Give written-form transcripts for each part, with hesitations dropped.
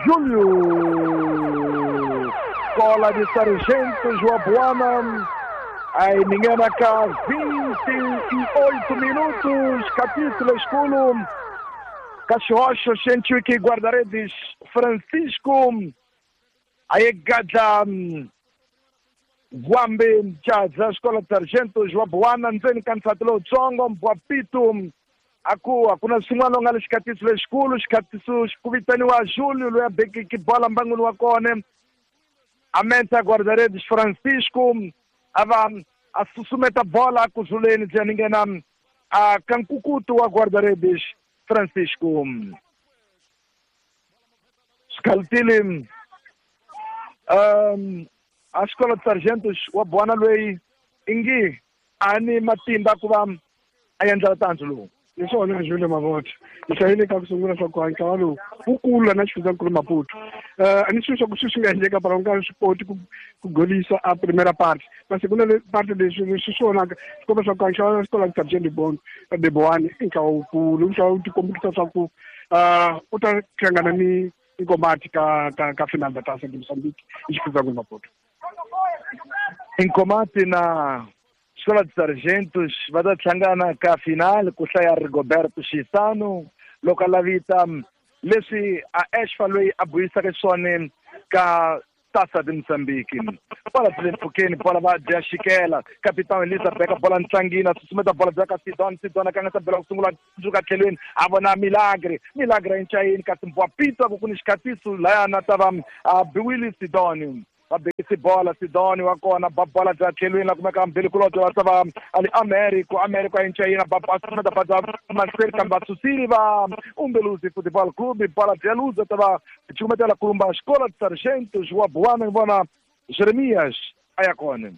Júlio! Escola de Sargentos wa Buana. Aí ninguém cá, 28 minutos, capítulo esculo. Cachocho, Xenchuiki, guarda-redes, Francisco. Aí Gaja Guambe, Jaza, Escola de Sargentos, wa Buana, Nzeni Kansatlo, Tsongo, Mbuapito. Aku hakuna swin'wana u nga le xikatiso lexikulu xikatiso ku vitaniwa Júlio loyi a bekeke bola mbangwini wa kona a menta guarda-redes Francisco a va a susumeta bola ku zuleni bya ni nghena a ka nkukutu wa guarda-redes Francisco swikhalutile a xikolo de sargentos wa Buana loyi ingi a ni matimba ku va a endla tandzu lowu. Hi swona Júlio Mavota hi hlayile ka ku sungula swa ku ntlawa lowu wu kula na xifundzankulu Maputo. A ni swi swa ku swi swi nga endleka para u nga swi koti ku golisa a primera parte masi ku na le parte leswi leswi swi vonaka swi komba swa ku ntlawa wa xikolo Sargent de Boane i ntlawa wukulu, ntlawa wu tikombisa swa ku u ta hlangana ni Nkomati ka final da Taça de Moçambique hi xifundzankulu Maputo. Nkomati na Escola de Sargentos va ta hlangana ka final ku hlaya Rigoberto Xisano loko a lavita leswi a Ashfa loyi a buyisaka swona ka Taça de Moçambique. Bola byi le mpfhukeni, bola va dya xikela. Capitão Elisa beka bola ntlangini, a susumeta bola bya ka Sidon, Sidon a kanganyisa bola ku sungula tsundzuka tlhelweni, a vona Milagre, Milagre a incayini kasi Mbwapito a ku ku ni xikatiso laya na ta va a biwile Sidon. Va bekisi bola Sidoni wa kona ba bola bya tlhelweni la kumeka mbili kulobye va ta va ali Americo, Americo a incayina ba ba susumeta ba bya mahlweni kambe va susile va Umbeluzi Football Club, bola bya luza ta va cukumetela kulumba Escola de Sargentos wa Buana vona Jeremias a ya kona.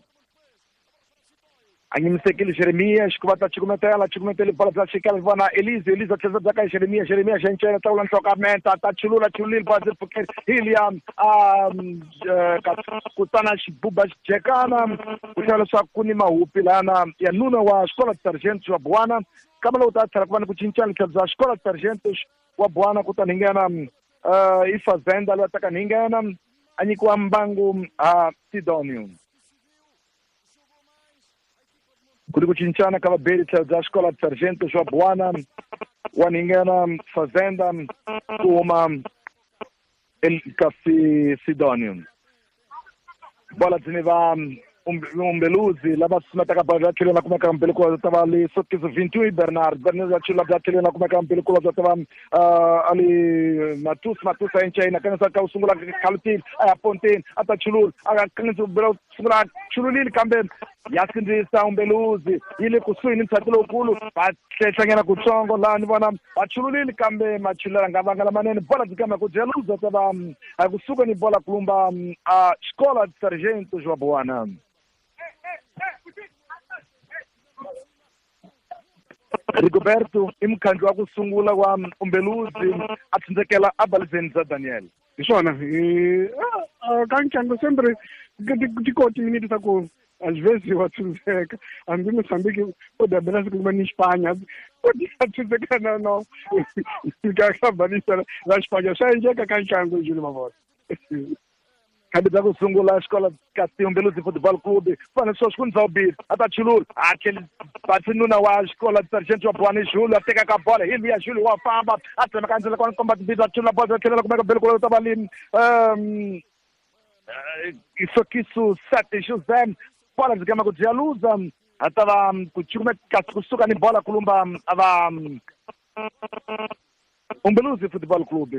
A nyimisekile Jeremias ku va ta cukumetela, cukumetele bola bya xikela vona Elise, Elise a tlhela bya ka Jeremias, Jeremias a ncena tlakula nhloko a menta ta chulula chululile bola byi pfukeli Hiliam a kutana xibuba xijekana ku tlhela leswaku ku ni mahupi lana ya nuna wa Escola de Sargentos wa Buana kambe loko ta tlhela ku va ni ku cincana tlhelo bya Escola de Sargentos wa Buana kutani hi nghena i Fazenda loyi a taka ni nghena a nyikiwa mbangu a Sidonio. Ku ri ku cincana ka vabeli tlhelo bya Escola de Sargentos wa Buana wa ninghena Fazenda ku huma kasi Sidonio. Bola byi ni va Umbeluzi lava susumetaka bola bya tlhelweni la kumeka mbili ku ta va le Sokiso 21 Bernard, Bernard ya chula bya tlhelweni la kumeka mbili ku ta va ali Matus, Matus a enchayina kanganyisa ka ku sungula khalutile a ya ponteni a ta chulula a kanganyisa ku sungula chululile kambe ya sindzisa Umbeluzi yi le kusuhi ni ntshato lowukulu va hlehlanyana kutsongo laha ni vona va chululile kambe machulela nga vanga lamanene bola byi kambe ku dya luza ta va a kusuka ni bola kulumba a Escola de Sargentos wa Buana. Rigoberto i mukhandli wa ku sungula wa Umbeluzi a tsindzekela a balizeni bya Daniel. Hi swona ka ntlangu sempre ti koti minute ta ku às vezes wa tsindzeka hambi Moçambique o dabela siku ni Espanha o tsindzeka na no ka balisa la Espanha swa endleka ka ntlangu Júlio Mavota. Khambi bya ku sungula Escola kasi Umbeluzi Football Club fana sweswi ku ni zawubili a ta chulula a tlheli batsi nuna wa Escola de Sargentos wa Buana Júlio a teka ka bola hi luya Júlio wa famba a tsemeka ndzela kona komba timbili a chulula bola tlhelela kumeka mbili ku ta va le Isokiso 7 José bola byi kama ku dya luza a ta va ku cukumeta kusuka ni bola kulumba a va Umbeluzi Football Club.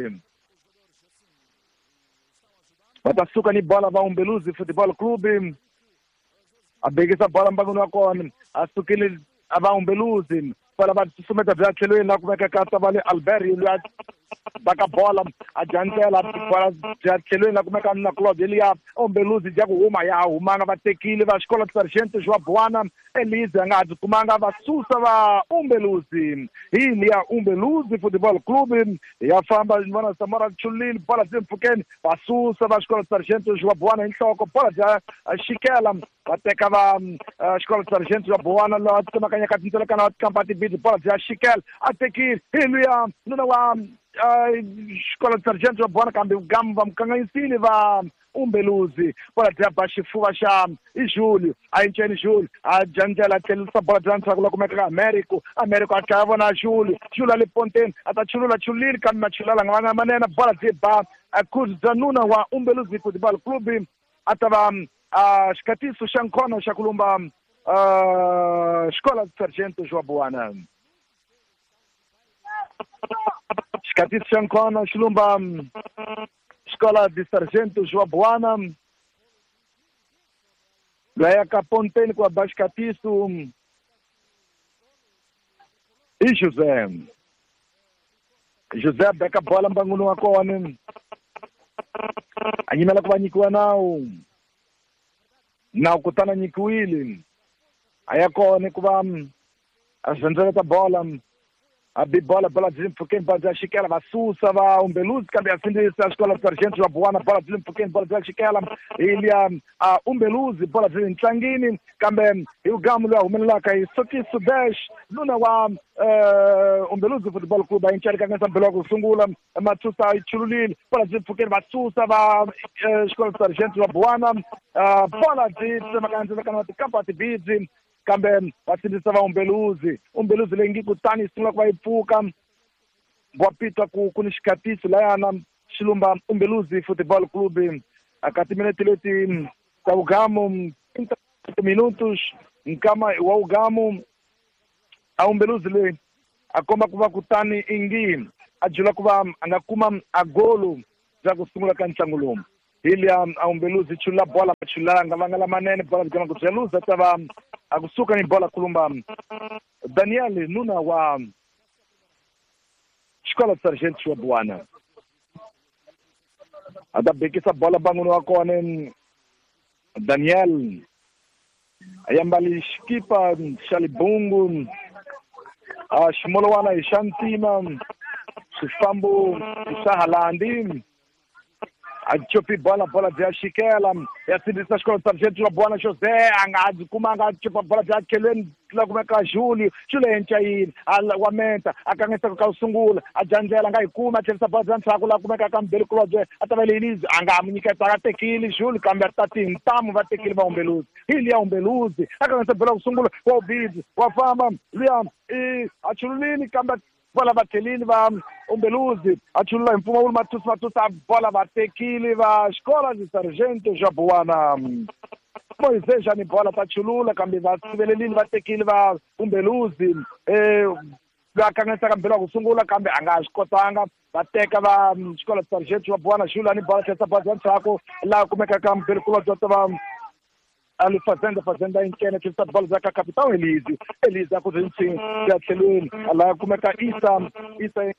Va ta suka ni bola va Umbeluzi Football Club a bekisa bola mbangwini wa kona a sukile a va Umbeluzi bola va susumeta bya tlhelweni la kumeka ka ta va le Albert loyi a baka bola a dya ndlela bola bya tlhelweni la kumeka na Claude Elia Umbeluzi dya ku huma ya humanga va tekile va Escola de Sargentos wa Buana Elise a nga ha byi kumanga va susa va Umbeluzi hi liya Umbeluzi Football Club ya famba ni vona Samora chulile bola byi mpfhukeni va susa va Escola de Sargentos wa Buana hi nhloko bola bya xikela va teka va Escola de Sargentos wa Buana laha tsemakanyaka tindlela kana va tikampa tibidi bola bya xikela a tekile hi luya nuna wa Xikola Sargento va bona kambe gamu va mukanganyisile va Umbeluzi bola bya ba xifuva xa i Julio a yinceni Julio a dya ndlela a tlhelerisa bola bya ndzhaku la kumeka ka Americo Americo a dlaya vona Julio Julio a le ponteni a ta chulula chululile kambe machulula nga vanga manene bola byi ba a bya nuna wa Umbeluzi Football Club a ta va xikatiso xa nkhono xa ku lumba Xikola Sargento João Buana xikatiso xa nkhono xi lumba Escola de Sargento João Buana laya ka ponteni ku ba xikatiso i José José a beka bola mbanguni wa kona a yimela ku va nyikiwa nawu nawu kutani a nyikiwile a ya kona ku va a zendzeleta bola a bi bola bola byi le mpfhukeni bola bya xikela va susa va Umbeluzi kambe ya sindzisa Xikola Sargento va Buwana bola byi le mpfhukeni bola bya xikela hi liya a Umbeluzi bola byi le ntlangini kambe hi ugamu loyi a humelelaka hi Sokiso Dash nuna wa Umbeluzi Football Club a yi ncarikangisa mbelo wa ku sungula Matsusa yi chululile bola byi le mpfhukeni va susa va Xikola Sargento va Buwana bola byi tsemakanya ndzilakano wa tikampa tibidzi kambe va sindzisa va Umbeluzi Umbeluzi leyi ngi kutani yi sungula ku va yi pfuka wa pitwa ku ku ni xikatiso layana xilumba Umbeluzi Football Club aka timinete leti ta vugamu 30 minutos nkama wa vugamu a Umbeluzi leyi a komba ku va kutani ingi a jula ku va a nga kuma a golo bya ku sungula ka ntlangu lowu Hilya a Umbeluzi chula bola chula nga vanga lamanene bola bigama ku byaluza ta va a kusuka ni bola kulumba Daniel nuna wa Xikola Sargento wa Buwana a ta bekisa bola banguni wa kona Daniel a yambali xikipa xa libungu a ximolwana hi xa ntima swifambo swa Halandi a chopi bola bola bya xikela ya sindzisa Xikolo Sargento wa Buwana José a nga byi kumanga a chopa bola bya tlhelweni la kumeka Julio Julio encayini a wa menta a kanganyisa ka ku sungula a dya ndlela a nga yi kumi a tlherisa bola bya ndzhaku la kumeka ka mbeli kulobye a ta va Elise a nga mu nyiketa a tekile Julio kambe a ta tintamu va tekile va Umbeluzi hi liya Umbeluzi a kanganyisa bola ku sungula wa ubidzi wa famba luya i a chululile kambe bola va tlhelile va Umbeluzi a chulula hi mpfumawulo Mathusi Mathusi a bola va tekile va Xikola de Sargento xa Buwana Moisés ni bola ta chulula kambe va sivelelile va tekile va Umbeluzi va kanganyisaka mbelo wa ku sungula kambe a nga swi kotanga va teka va Xikola Sargento va Buwana Xula ni bola tlherisa bola bya ndzhaku laha kumekaka mbelo kulobye ta va ali Fazenda Fazenda inkene tlherisa bola bya ka Capitão Elise Elise a ku rintsini ya tlhelweni laha kumeka Isa Isa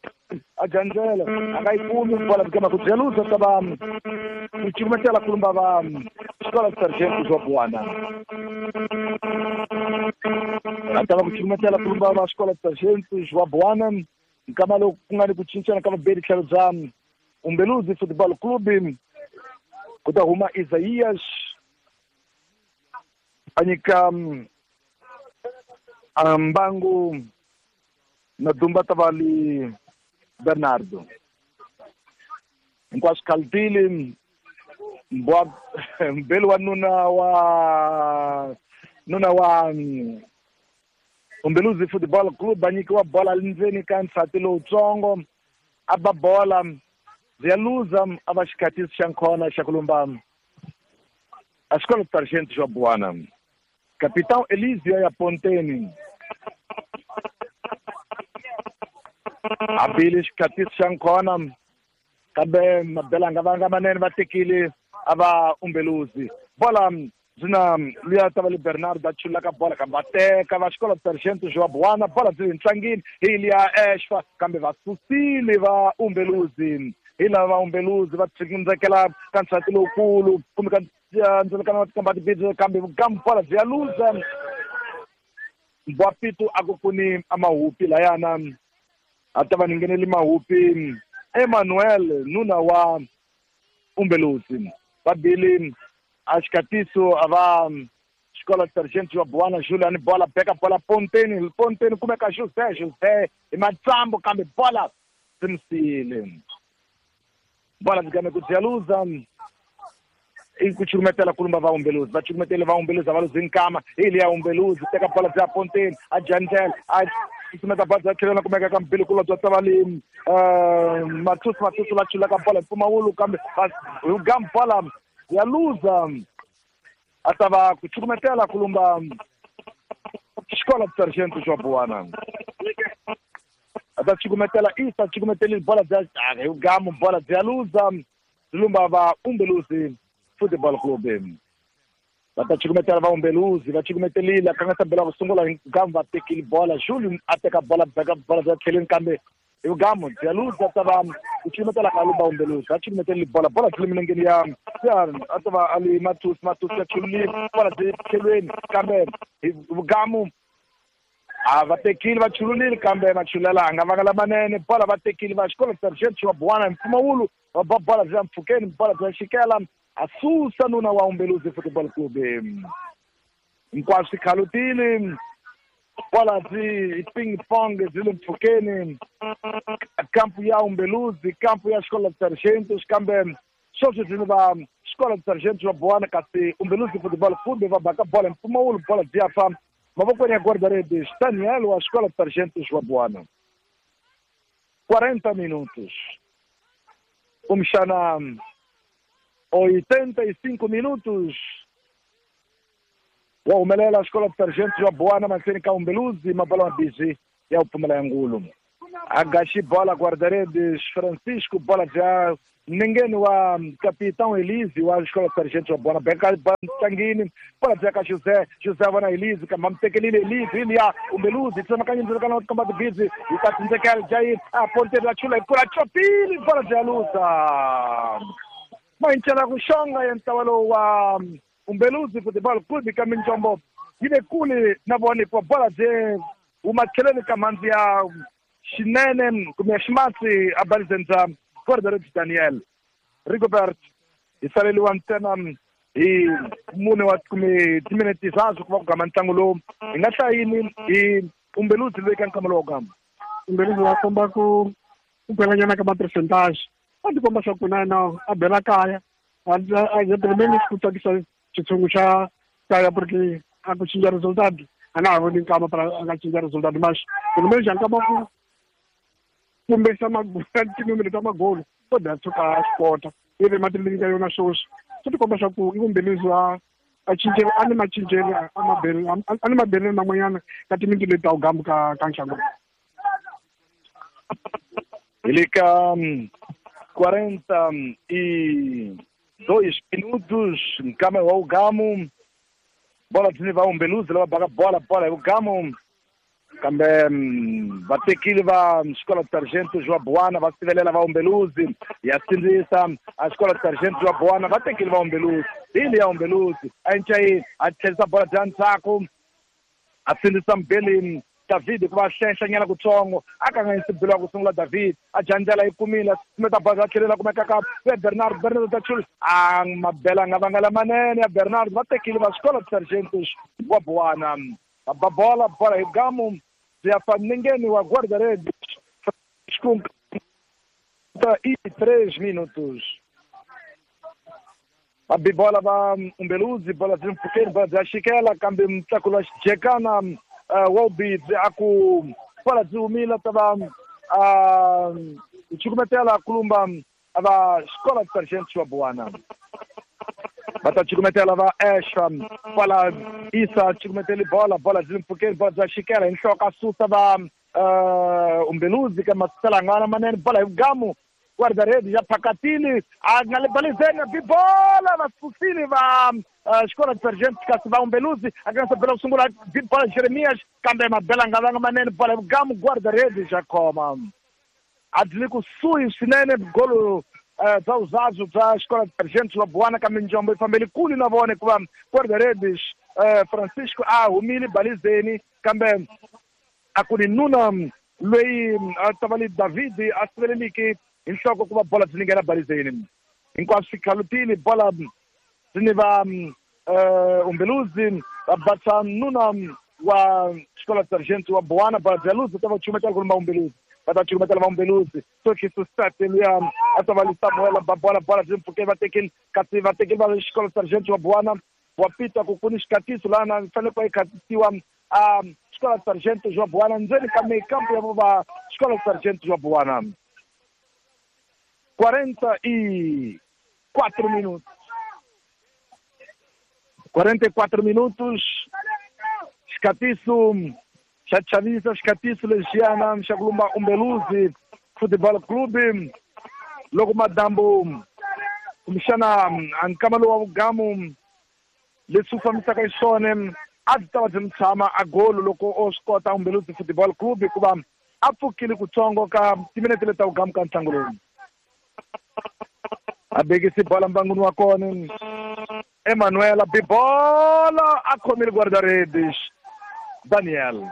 a dya ndlela a nga yi kumi bola bigama ku byaluza ta va ku cukumetela kulumba va Xikola Sargento swa Buwana a ta va ku cukumetela kulumba va Xikola Sargento swa Buwana nkama loku ku nga ni ku cincana ka vabeli tlhelo bya Umbeluzi Football Club ku ta huma Isaías a nyika mbangu na Dumba Tavali Bernardo hinkwaswo khaltili mbwa mbeli wa nuna wa Umbeluzi Football Club a nyikiwa bola ndzeni ka nsati lowutsongo a ba bola bya luza a va xikatiso xa nkhona xa ku lumba a Xikola Sargento xa Buwana Capitão Elisio ya ponteni a bile xikatiso xa nkhona kambe mabela nga vanga manene va tekile a va Umbeluzi bola byi na luya ta va le Bernardo a chulaka bola kambe va teka va Xikola Sargento João Buwana bola byi le ntlangini hi liya Exfa kambe va susile va Umbeluzi hi lava va Umbeluzi va tsindzekela ka nsati lowukulu kumbe ka ndzilakano wa tikamba tibidzi kambe vugamu bola byi ya luza Mbwapitu a ku kuni a mahupi layana a ta va ni ngheneli mahupi Emmanuel nuna wa Umbeluzi va bile a xikatiso a va Xikola Sargento wa Buwana Julian bola beka bola ponteni ponteni kumeka José José hi matsambu kambe bola byi mi siyile. Bola byi game ku bya luza i ku cukumetela kulumba va Umbeluzi, va cukumetele va Umbeluzi, a va luzi nkama hi liya Umbeluzi teka bola bya ponteni a jandlela a susumeta bola bya tlhelo na kumeka ka mbili kulwa bya tavali Matusi va chulaka bola hi mpfumawulo kambe hi gamu bola ya luza a ta va ku cukumetela kulumba Xikola Sargento xwa Buwana a ta cukumetela Isa cukumeteli bola bya hi gamu bola bya luza lumba va Umbeluzi Football Club. Va ta cukumetela va Umbeluzi, va cukumetelile a kangasa bela ku sungula hi gamu va tekile bola Julio a teka bola beka bola bya tlheleni kambe hi gamu bya luza ta va ku cukumetela ka lumba Umbeluzi a cukumetelile bola bola tlhele milengeni ya a ta va ali Matusi ya chulile bola byi tlhelweni kambe hi gamu a va tekile va chululile kambe machulela a nga vanga lamanene bola va tekile va Xikolo Sargento xwa Buwana mpfumawulo va ba bola bya mpfhukeni bola bya xikela a susa nuna wa Umbeluzi Football Club. Hinkwaswo swi khalutile bola byi ping pong byi le mpfhukeni kampu ya Umbeluzi kampu ya Xikolo Sargento kambe sweswi byi va Xikolo Sargento xwa Buwana kasi Umbeluzi Football Club va baka bola mpfumawulo bola byi ya fa mavokweni ya guarda-redes Daniel wa Xikolo Sargento xwa Buwana. 40 minutos kumbexana 85 minutos wa humelela Xikolo Sargento xwa Buwana mahlweni ka Umbeluzi mabola mabisi ya ku pfumela ya ngulu a gaxi bola guarda-redes Francisco bola bya nengeni wa Capitão Elise wa Xikolo Sargento xwa Buwana beka tlangini bola bya ka José vona Elise kambe mutekelile Elise liya Umbeluzi tsemakanya ndzilakana wa komba tibizi yi ta tsindzekela Jair a ponteli la chula hi kula chopile bola bya luza mayincela ku xonga ya ntlawa lowu wa Umbeluzi Football Club ka minjombo yi le kule na vona hikuva bola bye huma tlheleni ka mhandzi ya xinene kumbe ya ximatsi a balizeni bya guarda-redes Daniel Rigobert. Hi saleliwa ntsena hi mune wa kumbe timinete tisaswo ku va ku gama ntlangu lowu hi nga hlayini hi Umbeluzi loyi ka nkama lowu gama Umbeluzi wa komba ku belanyana ka ma-percentage a ti komba swa ku na yena a bela kaya a heteleleni ku tsakisa xitshungu xa kaya porque a ku cinca resultado a nga ha voni nkama para a nga cinca resultado mas pelo menos nkama ku kumbesa tinumero ta magolo ko da tshuka a swi kota i ri matilini ka yona sweswi swi ti komba swa ku i Umbeluzi a cincele a ni macincele a ni mabelelo man'wanyana ka timinti leti ta ku gambu ka nxango. Hi le ka 42 minutos nkama wa ugamu bola byi va Umbeluzi lava baka bola bola hi ugamu kambe va tekile va Xikolo Sargento xwa Buwana va sivelela va Umbeluzi ya sindzisa a Xikolo Sargento xwa Buwana va tekile va Umbeluzi hi liya Umbeluzi a ncayini a tlherisa bola bya ndzhaku a sindzisa mbeleni David ku va hlenhlanyana kutsongo a kanganyisa belo wa ku sungula David a jandzela yi kumile sumeta bola a tlhelela kumeka ka Bernard Bernard ta chula a mabela nga vanga lamanene ya Bernard va tekile va Xikolo Sargento xwa Buwana va bola bola hi gamu bya fa nengeni wa guarda-redes com 33 minutos va bi bola va Umbeluzi bola byi mpfhukeni bola bya xikela kambe mutlakulo wa xijekana Wobidzi a ku bola byi humile ta va cukumetela kulumba va Xikolo Sargento xwa Buwana va ta cukumetela va Esha bola Isa cukumeteli bola bola byi mpfhukeni bola bya xikela hi nhloko a susa va Umbeluzi ka masalangana manene bola hi gamu guarda-redes ya phakatile a nga le balizeni bi bola va susile va Xikolo Sargento kasi va Umbeluzi a nga se bela ku sungula bi bola Jeremias kambe mabela nga vanga manene bola hi gamu guarda-redes ya khoma a byi le kusuhi swinene golo bya vuzazu bya Xikolo Sargento xwa Buwana kambe njombo yi fambele kule na vona hikuva guarda-redes Francisco a humile balizeni kambe a ku ni nuna loyi a ta va le David a siveleliki hi nhloko ku va bola byi nghena balizeni hinkwaswo swi khalutile bola byi ni va Umbeluzi va basa nuna wa Xikolo Sargento wa Buwana bola bya luzi ta va chumetela kulumba Umbeluzi Va ta cukumetela va Umbeluzi. Sokiso state luya a ta va li Samuel ba bola bola byi mpfukeni va tekile kasi va tekile va xikolo Sargent wa Buwana wa Peter ku ku ni xikatiso laha na fanele ku va yi khatisiwa a xikolo Sargent wa Buwana ndzeni ka mekampo ya va xikolo Sargent wa Buwana. 44 minutos. 44 minutos. Xikatiso xa chavisa, xikatiso lexiyana xa ku lumba Umbeluzi Football Club loko madambu kumbexana a nkama lowu wa vugamu leswi wu fambisaka xiswona a byi ta va byi mi tshama a golo loko o swi kota Umbeluzi Football Club hikuva a pfukile kutsongo ka timinete leti ta vugamu ka ntlangu lowu. A bekisi bola mbanguni wa kona Emanuela bibola a khomile guarda-redes Daniel.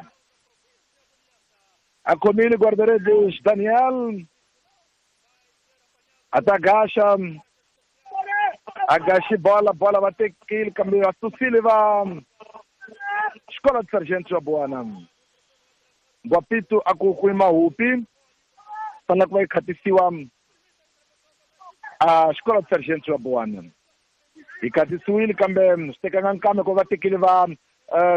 A khomile guarda-redes Daniel. A ta gaxa a gaxi bola bola va tekile kambe va susile va xikolo Sargent wa Buwana. Ngwapito a ku ku mahupi fanele ku va yi khatisiwa a xikolo Sargent wa Buwana. Yi khatisiwile kambe swi tekanga nkambe ku va tekile va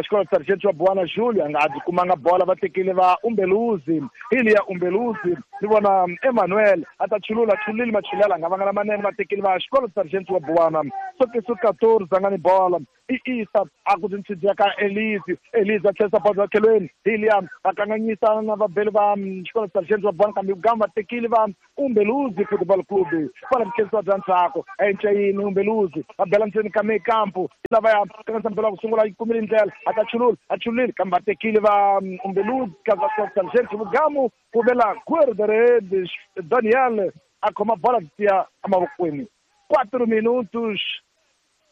xikolo Sargent wa Buwana Julio a nga a byi kumanga bola va tekile va Umbeluzi hi liya Umbeluzi ni vona Emmanuel a ta chulula chulile machulela a nga vanga lamanene va tekile va xikolo Sargent wa Buwana. Sokiso 14 a nga ni bola i Isa a ku tintshidziya ka Elise Elise a tlherisa bola tlhelweni hi liya va kanganyisa na vabeli va xikolo Sargent wa Buwana kambe vugamu va tekile va Umbeluzi Football Club bola byi bya ndzhaku a yini Umbeluzi va bela ndzeni ka mekampo lava ya kanganyisa mpela ku sungula yi kumile ndlela a ta chulula a chulile kambe va tekile va Umbeluzi ka va Sargent vugamu ku vela guarda-redes Daniel a khoma bola tiya emavokweni. 4 minutos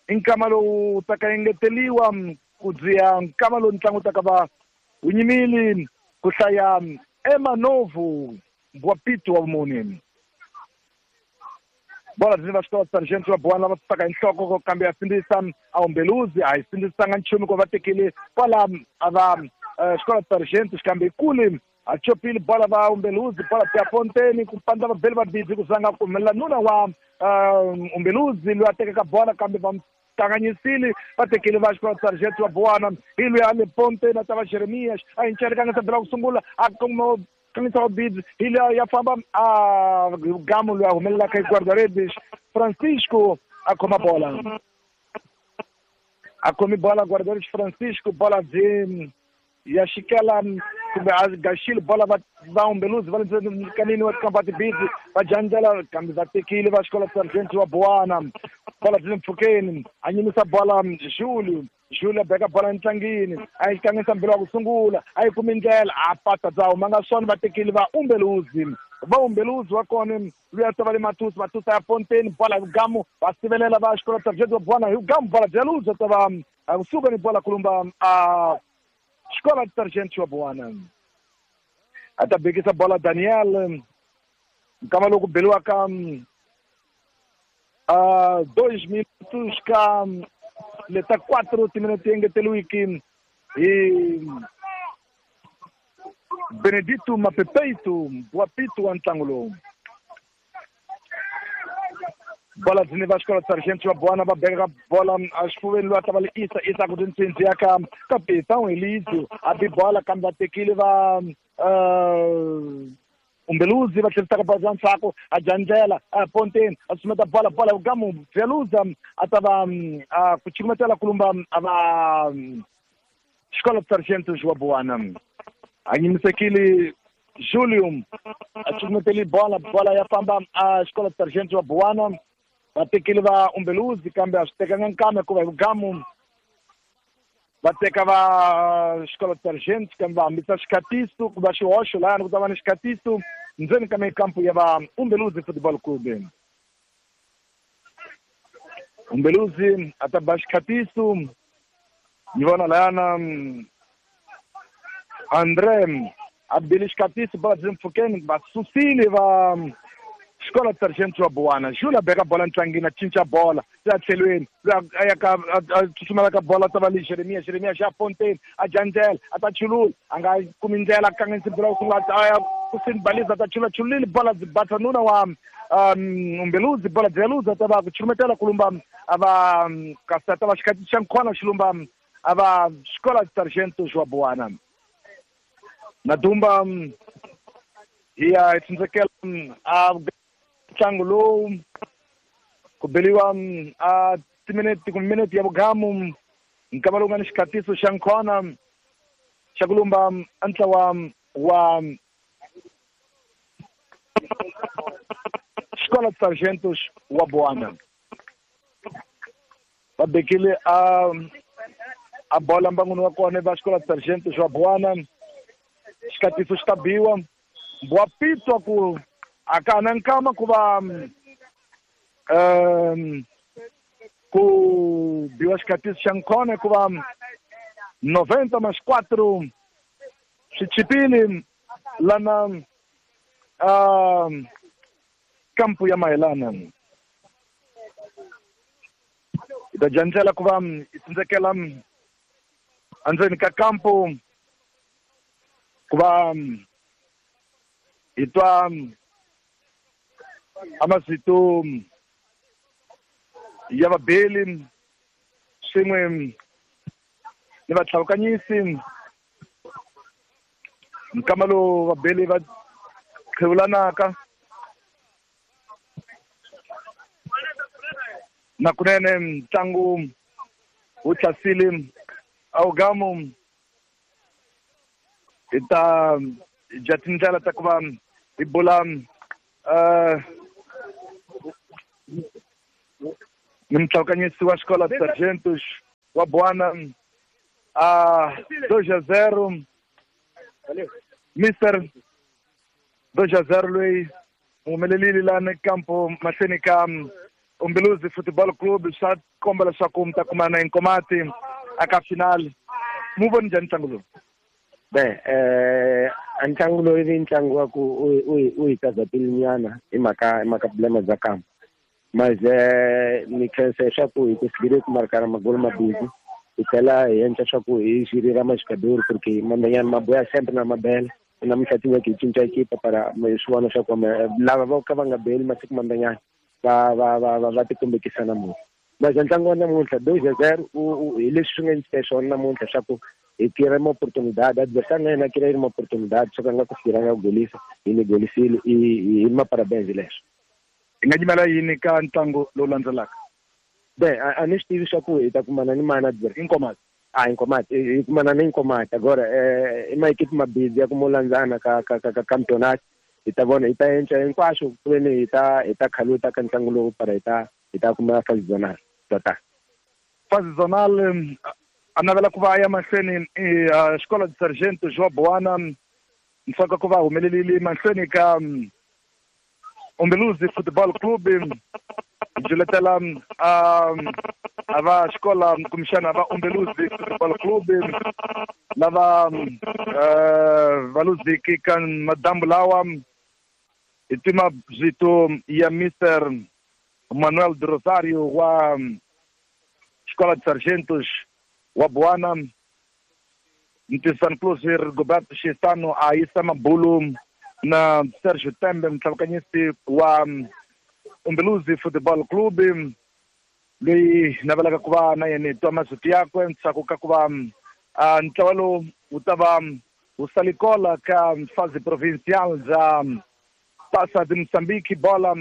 nkama lowu taka engeteliwa ku dziya nkama lowu ntlangu taka va wu nyimile ku hlaya Emanovu Mbwapito wa vumune. Bola byi va xikolo Sargent wa Buwana lava susaka hi nhloko kambe ya sindzisa a Umbeluzi a yi sindzisanga nchumu ku va tekile kwala a va xikolo Sargent kambe kule a chopile bola va Umbeluzi bola ya Fonteni ku pandza vabeli va bizi ku zanga ku humelela nuna wa Umbeluzi loyi a tekaka bola kambe va kanganyisile va tekile va xikolo Sargent wa Buwana hi loyi a le Fonteni a ta va Jeremias a yi nchelekanga sabela ku sungula a kuma kanganyisa wa bizi hi loyi ya famba a gamu loyi a humelelaka hi guarda-redes Francisco a khoma bola a khomi bola guarda-redes Francisco bola byi ya xikela kumbe a gaxile bola va Umbeluzi va le kanini wa tikampa tibidzi va jandzela kambe va tekile va xikolo Sargent wa Buwana bola byi le mpfhukeni a nyimisa bola Julio Julio a beka bola entlangini a yi kanganyisa mbilo wa ku sungula a yi kumi ndlela a pata bya humanga swona va tekile va Umbeluzi va Umbeluzi wa kona loyi a ta va le Matusi Matusi ya Fonteni bola hi vugamu va sivelela va xikolo Sargent wa Buwana hi vugamu bola bya luza ta va kusuka ni bola kulumba a xikolo Sargent wa Buwana. A ta bekisa bola Daniel nkama loku beliwaka 2 minutos ka leta 4 timinete engeteliwiki hi Benedito Mapepeito Mbwapito wa ntlangu lowu. Bola byi va xikolo Sargent wa Buwana va beka bola exifuveni loyi a ta va le Isa Isa ku tintsindzi ya ka Capitão Elizio a bi bola kambe va tekile va Umbeluzi va tlherisaka bola bya ndzhaku a dya ndlela a Ponteni a susumeta bola bola vugamu Veluza a ta va ku cukumetela kulumba a va xikolo Sargent wa Buwana a nyimisekile Julio a cukumeteli bola bola ya famba a xikolo Sargent wa Buwana va tekile va Umbeluzi kambe a swi tekanga nkama hikuva hi vugamu va teka va xikolo Sargent kambe va hambisa xikhatiso ku va xihoxo lahayani ku ta va ni xikhatiso ndzeni ka mikampu ya va Umbeluzi Football Club. Umbeluzi a ta ba xikhatiso ni vona lahayana André a bile xikhatiso bola byi mpfhukeni va susile va xikolo Sargent wa Buwana. Jules a beka bola ntlangini a cinca bola ya tlhelweni loyi a ya ka a tsutsumela ka bola ta va le Jeremia Jeremia xa Fonteni a dya ndlela a ta chulula a nga kumi ndlela a kanganyisa bola ku sungula a ya kusini baliza ta chula chulile bola bata nuna wa Umbeluzi bola dzeluza ta va ku chumetela kulumba ava kasata va xikati xa nkhwana xilumba ava Escola de Sargentos wa Buana na dumba hiya tsindzekela a ntlangu lowu ku beliwa a timinete ku minute ya vugamu nkama lowu nga ni xikatiso xa nkhona xa kulumba ntlawa wa Escola de Sargentos wa Buana va bekile a bola mbanguni wa kona va Escola de Sargentos wa Buana xikatiso xi ta biwa wa pitwa ku a ka na nkama ku va ku biwa xikatiso xa nkhona hikuva 94 swi chipile lana kampu ya Mayelana hi ta dya ndlela ku va hi tsindzekela endzeni ka kampu ku va hi twa amazito ya vabeli swin'we ni vatlhavukanyisi nkama lowu vabeli va qhevulanaka na kunene ntlangu wu tlasile awugamu hi ta dya tindlela ta ku va hi bula ni mutlhavukanyisi wa Escola de Sargentos wa Buana a 2-0 Mr 2-0 loyi humelelile lani kampo mahlweni ka Umbeluzi Football Club swa komba leswaku mi ta kumana Inkomati aka final mu voni njhani ntlangu lowu? Be a ntlangu lowu i ntlangu wa ku u hi tazatile nyana hi mhaka problema bya kampo mas ni khensa leswaku hi kusigile ku markana magolo mabili hi tlhela hi endla swa ku hi xirira maxikadori porque mandanyana maboya sempre na mabele namuntlha tinyeke hi cinca ekipa para swi vona swa ku lava vo ka va nga beli masiku mandanyana va tikombekisa namuntlha mas ntlangu wa namuntlha 2-0 hi leswi swi nga endlisa swona namuntlha swa ku hi tira ma oportunidade adversário na yena kira ma oportunidade swo ka nga ku fikiranga ku golisa hi ni golisile hi ma parabéns leswo. Hi nga nyimela yini ka ntlangu lowu landzelaka? Be a ni swi tivi swa ku hi ta kumana ni mani adversário Inkomati. Inkomati hi kumana ni Inkomati agora i maekipi mabidzi ya ku mo landzana ka campeonato hi ta vona hi ta endla hinkwaswo ku veni hi ta khaluta ka ntlangu lowu para hi ta kuma fase zonal tota. Fase zonal a navela ku va ya mahlweni Escola de Sargentos wa Buana ntsaka ku va humelelile mahlweni ka Umbeluzi Football Club juletela ava xikola kumbexana va Umbeluzi Football Club lava va luziki ka madambu lawa hi tima vito ya Mr Manuel de Rosario wa Escola de Sargentos wa Buana Ntisan Close Roberto Chestano a yisa mabulu na Sergio Tembe mtlhavukanyisi wa Umbeluzi Football Club loyi navelaka ku va na yena hi twa masiku yakwe ntshaku ka ku va ntlawa lowu wu ta va wu salikola ka fase provincial bya Taça de Moçambique bola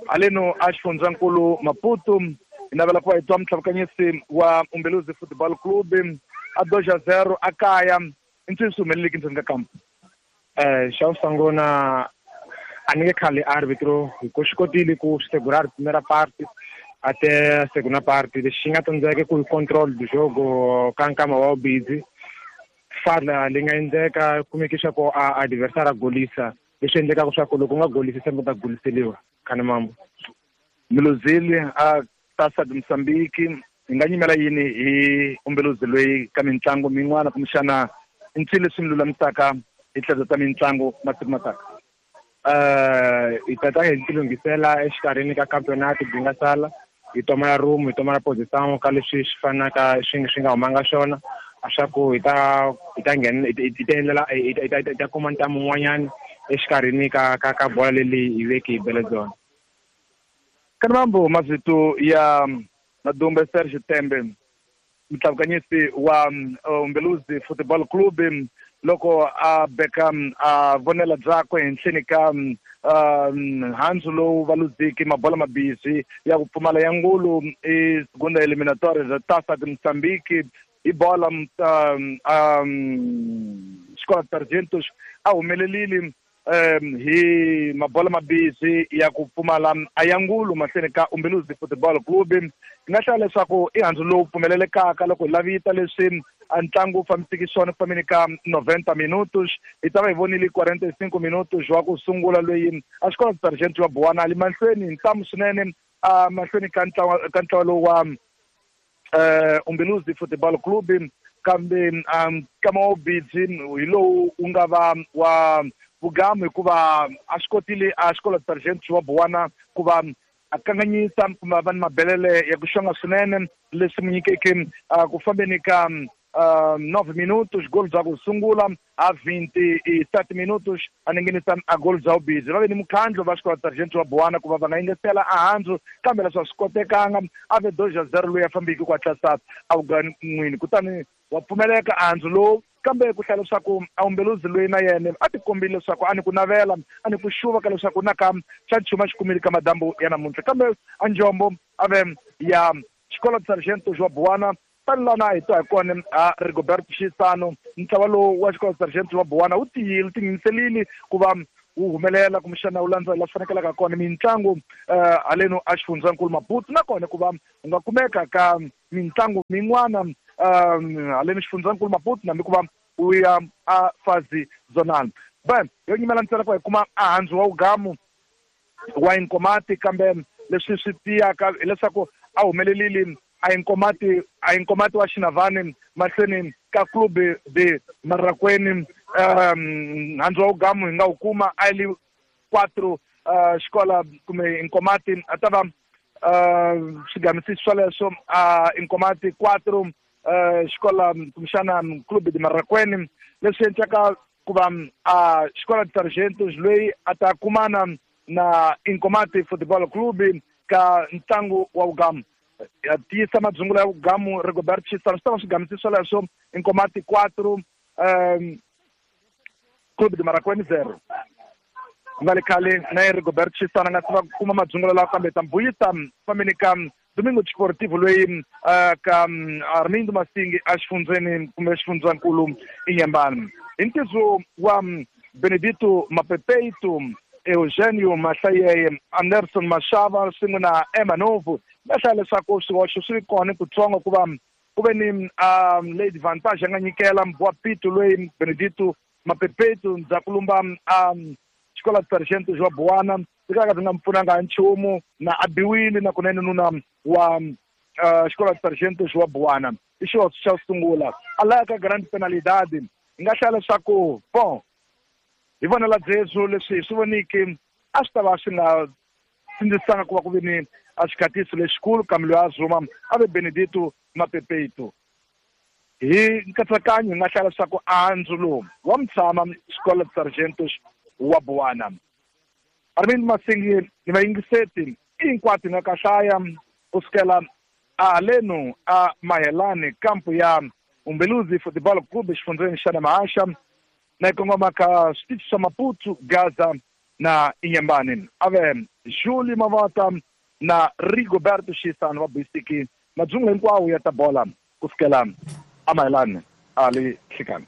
haleno a xifundzankulu Maputo hi navela ku va hi twa mtlhavukanyisi wa Umbeluzi Football Club a 2-0 a kaya i ncini swi humeleleki ndzeni ka kampo? Xa ku sungula a ni nge khali arbitro hi ku swi kotile ku segurar primera parte até a segunda parte lexi nga tsandzeka ku hi control do jogo ka nkama wa busy fala leyi nga endleka kumeke swa ku a adversário a golisa leswi endlekaka swa ku loko u nga golisi sembe u ta goliseliwa khani mambo. Miluzili a Taça de Moçambique hi nga nyimela yini hi Umbeluzi loyi ka mitlangu min'wana kumbexana i ncini leswi mi lulamisaka hi tlhelo ta mitlangu masiku mataka? Hi tata hi tilunghisela exikarhini ka campeonato byi nga sala hi tomala room hi tomala position ka leswi swi fanaka swi nga humanga swona swa ku hi ta nghena hi ta endlela hi ta kuma ntamu wun'wanyana exikarhini ka bola leyi hi veke hi bele byona. Kanambo mavito ya Madumbe Serge Tembe, mutlhavukanyisi wa Umbeluzi Football Club, loko a beka a vonela byakwe henhleni ka handzu lowu va luziki mabola mabisi ya ku pfumala ya ngulu i segunda eliminatória za Taça de Moçambique hi bola Escola de Sargentos a humelelile hi mabola mabisi ya ku pfumala a ya ngulu mahlweni ka Umbeluzi Football Club. Hi nga hlaya leswaku i handzu lowu pfumelelekaka loko hi lavita leswi a ntlangu wu fambisiki swona ku fambeni ka 90 minutos. Hi ta va hi vonile 45 minutos wa ku sungula loyi a Xikola Sargento wa Buwana ali mahlweni hi ntamu swinene a mahlweni ka ntlawa lowu wa Umbeluzi Football Club, kambe nkama wa ubidzi hi lowu wu nga va wa vugamu hikuva a swi kotile a Xikola Sargento wa Buwana ku va a kanganyisa kumbe va ni mabelele ya ku xonga swinene leswi mu nyikeke ku fambeni ka 9 minutos gol bya ku sungula a 27 minutos a ninginisa a gol bya ubidzi. Va ve ni mukhandlo va Xikola Sargento wa Buwana ku va va nga yingisela a handzu, kambe leswi a swi kotekanga a ve 2-0 loyi a fambiki ku hatlisa a vugan'wini, kutani wa pfumeleka a handzu lowu. Kambe ku hlaya leswaku a Umbeluzi loyi na yena a ti kombile leswaku a ni ku navela a ni ku xuva ka leswaku na ka xa nchumu a xi kumile ka madambu ya namuntlha, kambe a njombo a ve ya Xikola Sargento wa Buwana. Tani lana hi twa hi kona a Rigoberto Xisano, ntlawa lowu wa Xikola Sargento wa Buwana wu tiyile, wu tingheniselile ku va wu humelela kumbexana wu landza laha swi fanekelaka kona mitlangu haleno a xifundzankulu Maputo, nakona ku va u nga kumeka ka mitlangu min'wana haleno xifundzankulu Maputo nambi ku va u ya a fazi zonal. Ben yo nyimela ntsena ku hi kuma a handzu wa ugamu wa Inkomati, kambe leswi swi tiyaka hileswaku a humelelile a Inkomati wa Xinavani mahlweni ka Clube de Marraqueni. Handzu wa ugamu hi nga wu kuma a li 4 xikola kumbe Inkomati a ta va swigamisi swoleswo a Inkomati 4 xikola kumbexana Clube de Marraqueni, leswi endlaka ku va a Xikola de Sargentos loyi a ta kumana na Inkomati Football Club ka ntlangu wa ugamu. Ya tiyisa madzungula ya ugamu Rigoberto Xisano swi ta va swigamisi swoleswo Inkomati 4 Clube de Marraqueni 0. Ku nga le khale na ye Rigoberto Xisano a nga se va kuma madzungula lawa, kambe ta mbuyisa fambeni ka Domingo Desportivo loyi ka Armindo Masingi a xifundzeni kumbe xifundzankulu Inhambane. Hi ntizo wa Benedito Mapepeito, Eugenio Mahlayeye, Anderson Mashava swin'we na Emma Novo, va hlaya leswaku swihoxo swi kona kutsongo ku va ku ve ni lady Vantage a nga nyikela wa Pito loyi Benedito Mapepeito ndzhaku lumba Xikola Sargento wa Buwana swi ka swi nga pfunanga nchumu na a biwile na kunene nuna wa Xikola Sargento wa Buwana. I xihoxo xa sungula a laya ka grand penalidade. Hi nga hlaya leswaku bon hi vonela byebyo leswi hi swi voniki a swi ta va swi nga sindzisanga ku va ku ve ni a xikhatiso lexikulu, kambe loyi a zuma a ve Benedito Mapepeito. Hi nkatsakanyo hi nga hlaya leswaku andzu lowu wa mutshama Xikola Sargentos wa Buwana. Armindo Masingi ni vayingiseti hinkwato hi nga ka hlaya kusukela a haleno a Mahelani kampu ya Umbeluzi Football Club xifundzeni xa Namahasha na yi kongoma ka switichi swa Maputo, Gaza na Inhambane. A ve Julie Mavata na Rigoberto Xisano va buyisiki madzungu hinkwawo ya ta bola kusukela a Mahelani a le Hlekani.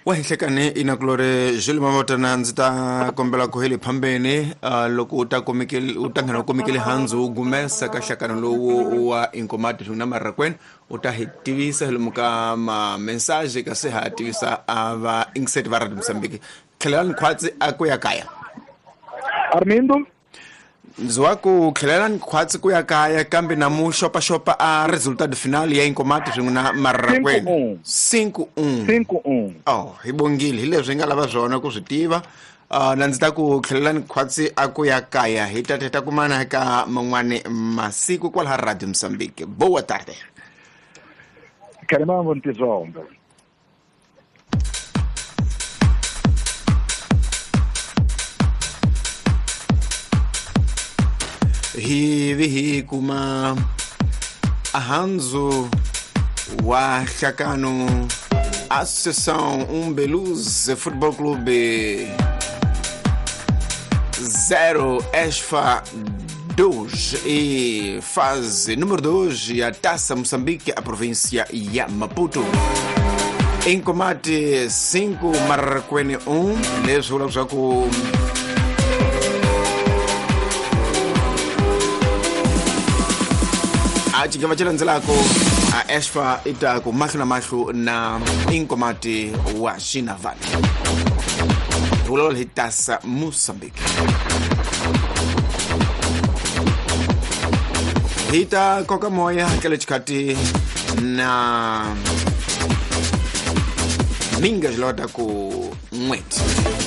Wa Hlekani inakulore Julie Mavata na ndzi ta kombela ku heli phambeni loko u ta komekele u ta nghena u komekele handzu u gumesa ka hlakano lowu wa Inkomati na Marraqueni, u ta hi tivisa hi lomu ka ma message kasi ha tivisa a va ingiseti va Radio Mozambique. Tlhelelani khwatsi a ku ya kaya. Armindo ndzi wa ku tlhelelani khwatsi ku ya kaya, kambe na mu xopaxopa a resultado final ya Inkomati swin'we na Marraqueni 5-1. 5-1. Oh, hi bongile hi leswi hi nga lava swona ku swi tiva. Na ndzi ta ku tlhelelani khwatsi a ku ya kaya hi ta ta kumana ka man'wani masiku kwalaha Radio Mozambique. Boa tarde. Khalimambo ntizombe. Hi vi hi kuma ahandzu wa hlakano Associação Umbeluz Futebol Clube 0 Esfa 2 e fase número 2 a Taça Moçambique, a província ya Maputo. Em combate 5 Marraquene 1 leswi vulaka swa ku a xigava xi landzelako a Esfa i ta ku mahlo na mahlo na Inkomati wa Xinavane. Hi vulavula hi Tasa Moçambique. Hi ta koka moya ka le xikhati na minga xilota ku n'weti.